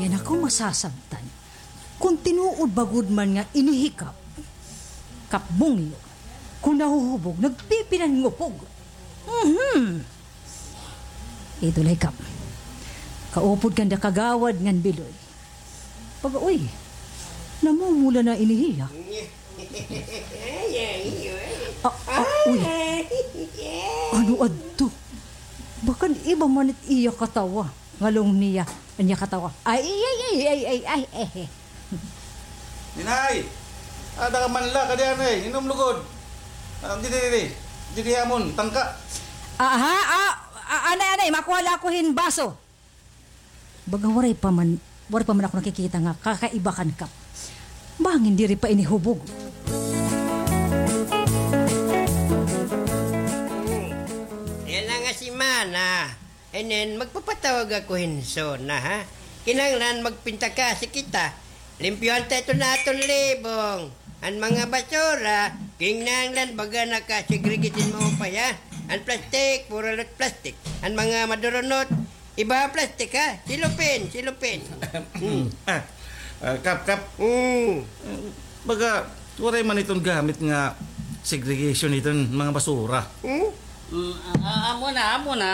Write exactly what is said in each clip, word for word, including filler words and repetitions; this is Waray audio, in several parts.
Ay, naku, masasabtan. Kon tinuod ba gud man nga ini hi Kap, Kap Bungyo, kon nahuhubog, nagpipinangupog. Mhm. Ito lay, Kap. Kaupod kanda Kagawad ngan Biloy. Baga, uy, namumula na ini hiya. Ah, ah, uy. Ano adto? Bakan iba man it iya katawa. Ngalong niya, an iya katawa. Ay, ay, ay. Ninay! Ada ka man la, kadi anay, inom lugod. Ah, didi, didi. Didi amon, tangka. Aha, ah, ah, anay, anay, makuha la ako hin baso. Baga waray pa man, waray pa man ako nakikita nga kakaiba kan Kap. Bangin diri pa ini hubog. Yana nga semana, inin magpapatawag ako hin SONA, ha? Kinahanglan magpintakasi kita. Limpyuhan ta iton aton libong. An mga basura, kinahanglan baga naka-segregate hin maupay, ha? An plastic, puro la plastic. An mga madurunot, iba plastic, ha? Silupin, silupin. Hmm. Ah, ah, Kap, Kap. Hmm. Baga, waray man iton gamit nga segregation iton mga basura. Hmm? Mm, a-, amo na, amo na.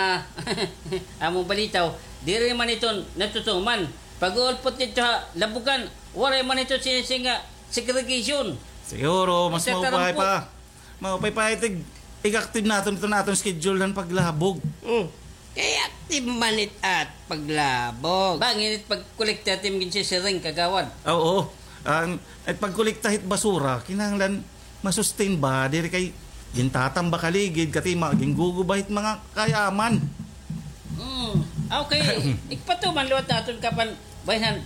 Amo balitaw, diri man iton natutuman. Pag-uulpot didto ha labugan, waray man iton sinising nga segregation. Siguro, mas maupay pa. Maupay pa itig, ig-active naton iton aton schedule han paglabog. Hmm. Kay active man it at paglabog. Bangin it pagkolekta it im ginsisiring, Kagawad. Ah, oo. An, it pagkolekta hit basura, kinahanglan masustain ba, diri kay gintatambak ha ligid, katima, ginguguba hit mga kayaman. Hmm. Okay. Igpatuman liwat naton, Kap, an bahin han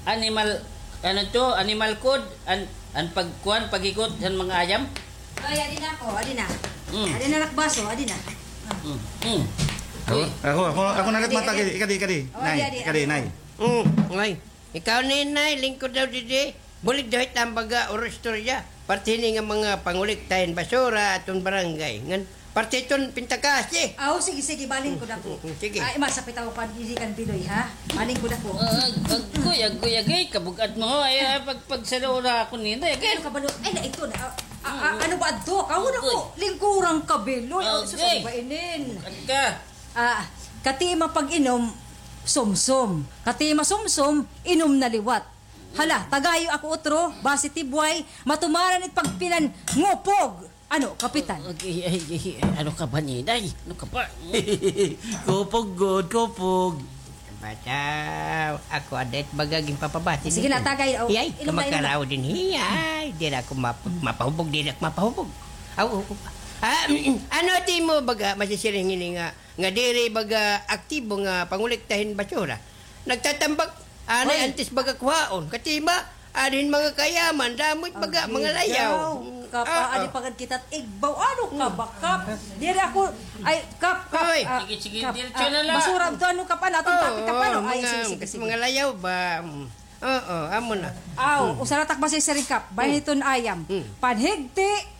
animal, ano to, animal code, an, an pagkuan, paghikot han mga ayam. Ay, adi na ako, adi na. Mm. Adi na, nakbaso, adi na. Mm, mm. Ako, uy, ako, ako, ako na rin matagid. Ikadi, ikadi. Oh, nay, adi, adi, ikadi, ako. Nay. Mm, ay. Ikaw ni, Nay, lingkod daw didi. Bulig daw hit am baga oro istorya. Parte hini nga mga pangolekta hin basura aton barangay. Ngan parte iton pintakasi. Aw, sige, sige, balingkod ako. Mm, mm, sige. Ay, masapit ako pa didi kan Biloy, ha? Balingkod ako. Ah, ag-, agoy, agoy, agoy, kabug-at mo. Ay, ay, pag-, pagsalura ako nini, ay, kabalo-, ay, na ito na. Ah, ah, ah, ano ba adto? Kahon ako, lingkurang ka, Biloy. Aw, susubay ba inin? Kabug-at ka. Ah, katima pag-inom, sumsum. Katima sumsum, inom na liwat. Hala, tagayo ako utro, basi tibway, matumaran it pagpinangupog. Ano, Kapitan? Ay, ay, ay, ay, ano ka ba, Niday? Ano ka ba? Kupog gud, kupog. Bataw, ako ada it baga ginpapabati. Sige na, tagay, oh. Iyay, inom na, inom na. Kamakaraw din, iyay. Diri ako map-, mapahubog, diri ako mapahubog. Aw, aw, aw. Ah, ano it imo baga masisiring hini nga nga diri baga aktibo nga pangolekta hin basura. Nagtatambak, anay antes baga kuhaon. Katima, adin mga kayaman, damo it baga, mga layaw. Kap, ah, adi pa gad kita igbaw. Ano ka ba, Kap? Diri ako, ay, Kap, Kap, ah, sige, sige, diretso na la. Basura to, ano, Kap, ano, atong topic, Kap, ano? Ay, sige, sige, sige. Mga layaw ba? Mm. Oo, amo na. Aw, usa la tak masisiring, Kap. Bahin hiton ayam. Panhigti,